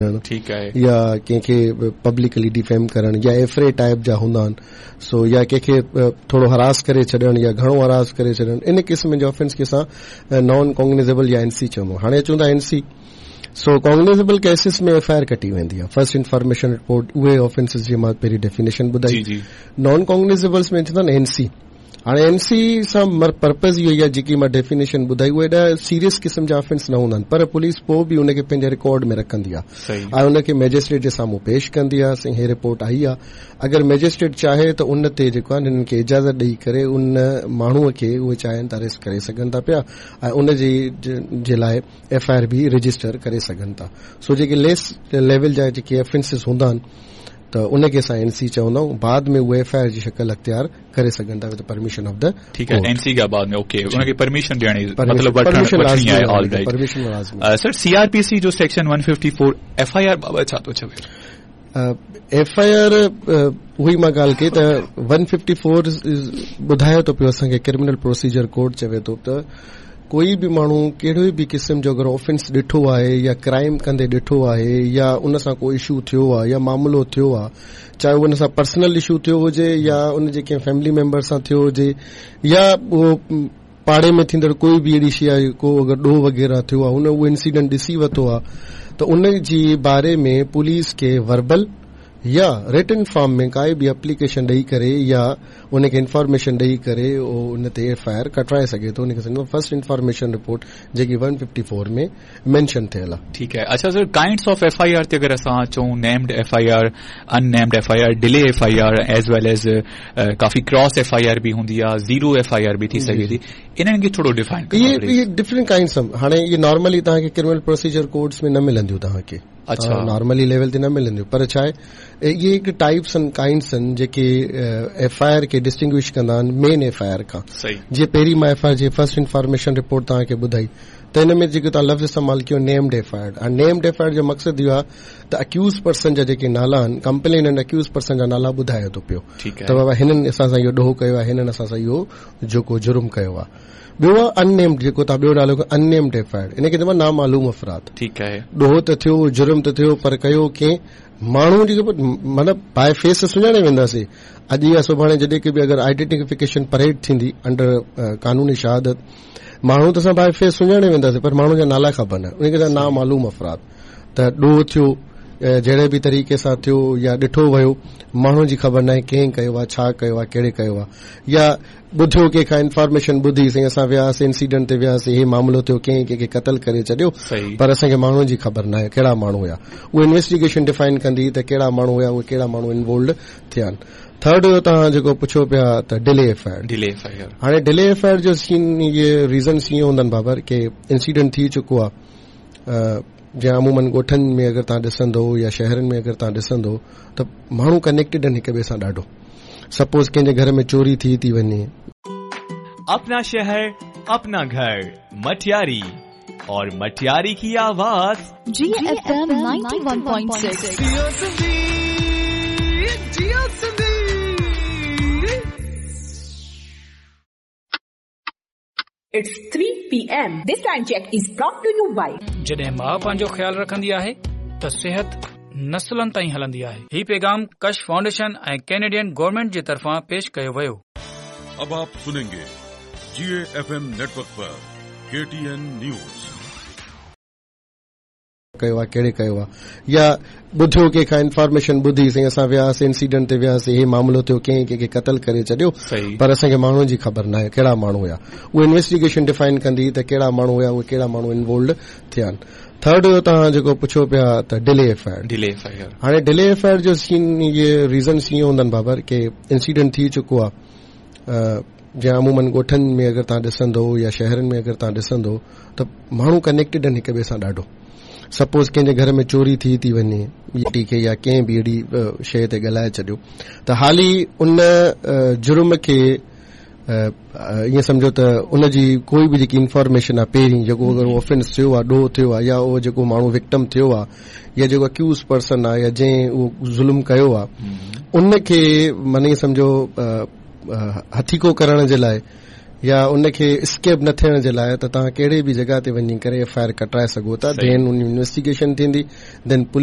ڇڏڻ ٺيڪ آهي. يا ڪنهن کي پبلڪلي ڊيفيم ڪرڻ يا ايفري ٽائيپ جا هوندا آهن سو يا ڪنهن کي ٿورو هراس ڪري ڇڏڻ يا گهڻو هراس ڪري ڇڏڻ ان قسم جي آفينس کي اسان نان ڪوگنيزيبل يا اين سي چوندا آهيون. هاڻي اچون ٿا N C. So cognizable cases ۾ F I R ڪٽي ويندي آهي فرسٽ انفارميشن رپورٽ اهي آفينسز جي مان پهرين ڊيفينيشن ٻڌائي. نان ڪوگنيزيبلس ۾ ٿيندا آهن اين سي. هاڻي اين سي سان پرپز اهو ئي آهي جيڪي مان ڊيفينيشن ٻڌائي اهي ايڏا سيريس قسم جا آفينس نه هوندا آهن پر پوليس پوء به ان کي پنهنجي رڪارڊ ۾ رکندي آهي ۽ ان کي مئجسٽريٽ جي سامهون پيش ڪندي آهي سائين هي رپورٽ آئي آهي اگر مئجسٽريٽ چاهي ته ان تي جيڪو آهي هنن کي اجازت ڏئي ڪري ان ماڻهو کي اهي چاهين ته اريسٽ ڪري سگهن ٿا پيا ۽ ان جي لاء ايف I R به رجسٽر ڪري سگهن ٿا سو جيڪي ليس ليول جا جيڪي آفينسز هوندا آهن ته ان کي اسان اين سي چوندا آهيون بعد ۾ اهي ايف I R جي شڪل اختيار ڪري سگهن ٿا وٿ پرميشن آف the ٺيڪ آهي اين سي کان بعد ۾ اوڪي ان کي پرميشن ڏيڻ مطلب وٺڻي آهي آل رائيٽ پرميشن لازمي سر سي آر پي سي جو سيڪشن 154 ايف I R بابت ڇا ٿو چوي؟ ايف I R اها ئي مان ڳالهه ڪئي ته 154 ٻڌائي ٿو پيو اسان کي ڪرمنل پروسيجر ڪوڊ چوي ٿو ته ڪوئي به ماڻهو ڪهڙو به قسم جو اگر آفينس ڏٺو آهي يا ڪرائم ڪندي ڏٺو آهي يا ان سان ڪو اشو ٿيو آهي يا معاملو ٿيو آهي چاهي اهو ان سان پرسنل اشو ٿيو هجي يا ان جي ڪنهن فيملي ميمبر سان ٿيو هجي يا اهو پاڙي ۾ ٿيندڙ ڪوئي به اهڙي شيء آهي ڪو اگر ڏوهه وغيره ٿيو آهي هن اهو انسيڊنٽ ڏسي ورتو آهي ته ان جي باري ۾ پوليس کي وربل يا رٽن فارم ۾ ڪائي به اپليڪيشن ڏئي ڪري يا ان کي انفارميشن ڏئي ڪري اهو ان تي ايف I R ڪٽرائي سگهي ٿو ان کي سمجهو فرسٽ انفارميشن رپورٽ جيڪي 154 ۾ مينشن ٿيل آهي. ٺيڪ آهي اڇا sir kinds of F I R تي اگر اسان اچون named F I R in named F I R delay F I R as well as coffee cross F I R به هوندي آهي زيرو ايف I R به ٿي سگهي ٿي انهن کي ٿورو ڊيفائن ڪندا اهي اهي ڊفرنٽ ڪائنڊس هاڻي اهي نارملي توهان کي ڪرمنل پروسيجر ڪوڊس ۾ نه ملنديون توهان کي اڇا نارملي ليول تي نه ملنديون پر ڇا آهي اهي هڪ ٽائپس آهن ڪائنڊس آهن جيڪي ايف I R کي ڊسٽنگوش ڪندا آهن مين ايف I R کان جيئن پهرين مان ايف I R جي فرسٽ انفارميشن رپورٽ توهان کي ٻڌائي ته ان ۾ جيڪو توهان لفظ استعمال ڪيو named F I R هاڻي نيمڊ ايف I R جو مقصد اهو آهي ته اڪيوز پرسن جا جيڪي نالا آهن ڪمپليننٽ اڪيوز پرسن جا نالا ٻڌائي ٿو پيو ته بابا هنن اسان سان اهو ڏوهه ڪيو آهي هنن اسان سان اهو جيڪو جرم ڪيو آهي. ٻيو آهي ان نيمڊ جيڪو توهان ٻيو نالو ان نيمڊ ايف I R ان کي چئبو آهي نامعلوم افراد. ٺيڪ آهي. ڏوهه ته ٿيو جرم ته ٿيو پر ڪيو ڪنهن ماڻهو جيڪو مطلب باء فيس سڃاڻي وينداسين اڄ يا سڀاڻي جڏهن ڪي به اگر آئيڊينٽيفڪيشن پريڊ ٿيندي انڊر قانوني شهادت ماڻهو ته اسان باء فيس سڃاڻي وينداسين پر ماڻهو جا نالا خبر نه ان کي چئبو آهي نامعلوم افراد. ته ڏوهه ٿيو جهڙي به طريقي سان ٿيو يا ڏٺو ويو ماڻهو جي خبر ناهي ڪنهن ڪيو آهي ڇا ڪيو آهي ڪهڙي ڪيو آهي يا ٻڌيو ڪنهن کان انفارميشن ٻڌي سائين اسان وياسين انسيڊنٽ تي وياسين هي معاملو ٿيو ڪنهن ڪنهن کي قتل ڪري ڇڏيو پر اسان کي ماڻهن جي خبر ناهي ڪهڙا ماڻهو هيا اهو انويسٽيگيشن ڊفائن ڪندي ته ڪهڙا ماڻهو هيا اهي ڪهڙا ماڻهو انوالوڊ ٿيا آهن ٿرڊ هيو توهان جيڪو پڇو پيا ته delay F I R delay F I R هاڻي ڊلي ايف I R جو سين اهي ريزنس ائين هوندا آهن بابر ڪي انسيڊنٽ ٿي چڪو آهي جيئن عمومن ڳوٺن ۾ اگر توهان ڏسندو يا شهرن ۾ اگر توهان ڏسندو ته ماڻهو ڪنيڪٽيڊ آهن هڪ ٻئي سان ڏاڍو سپوز ڪنهن جي گهر ۾ چوري ٿي ٿي وڃي. اپنا شهر اپنا گهر مٽياري اور مٽياري ڪي آواز. جي ايف ايم 91.6. جيئو سنڌي جيئو Sindhi. It's 3 PM. This time check is brought to you by. جڏهن ماء پنهنجو خيال رکندي آهي ته صحت نسلن تائين هلندي آهي. هي پيغام ڪش فائونڊيشن ۽ ڪينيڊين گورنمينٽ جي طرفان پيش ڪيو ويو. اب آپ سنينگي جي اي ايف ايم نيٽ ورڪ پر ڪي ٽي اين نيوز. ڪيو آهي ڪهڙي ڪيو آهي يا ٻڌيو ڪنهن کان انفارميشن ٻڌي سائين اسان وياسين انسيڊنٽ تي وياسين هي معاملو ٿيو ڪنهن ڪنهن کي قتل ڪري ڇڏيو پر اسان کي ماڻهن جي خبر ناهي ڪهڙا ماڻهو هيا اهو انويسٽيگيشن ڊفائن ڪندي ته ڪهڙا ماڻهو هيا اهي ڪهڙا ماڻهو انوالوڊ ٿيا آهن ٿرڊ هيو توهان جيڪو پڇو پيا ته delay F I R delay F I R هاڻي ڊلي ايف I R جو سين اهي ريزنس ائين هوندا آهن بابر ڪي انسيڊنٽ ٿي چڪو آهي جيئن عمومن ڳوٺن ۾ اگر توهان ڏسندو يا شهرن ۾ اگر توهان ڏسندو ته ماڻهو ڪنيڪٽيڊ آهن هڪ ٻئي سان ڏاڍو سپوز ڪنهن جي گهر ۾ چوري ٿي ٿي وڃي ٽي کي يا ڪنهن به اهڙي شيء تي ڳالهائي ڇڏيو ته حالي ان جرم کي ائين سمجهو ته ان جي ڪوئي به جيڪي انفارميشن آهي پهرين جيڪو اگر آفينس ٿيو آهي ڏوهه ٿيو آهي يا اهو جيڪو ماڻهو وڪٽم ٿيو آهي يا جيڪو اڪيوز پرسن آهي يا جنهن اهو ظلم ڪيو آهي ان کي معني ائين سمجهو هٿيڪو ڪرڻ جي لاء يا ان کي اسڪيپ نه ٿيڻ جي لاء ته توهان ڪهڙي به جڳهه تي وڃي ڪري ايف I R ڪٽرائي سگهو ٿا دين ان انويسٽيگيشن ٿيندي دين پوليس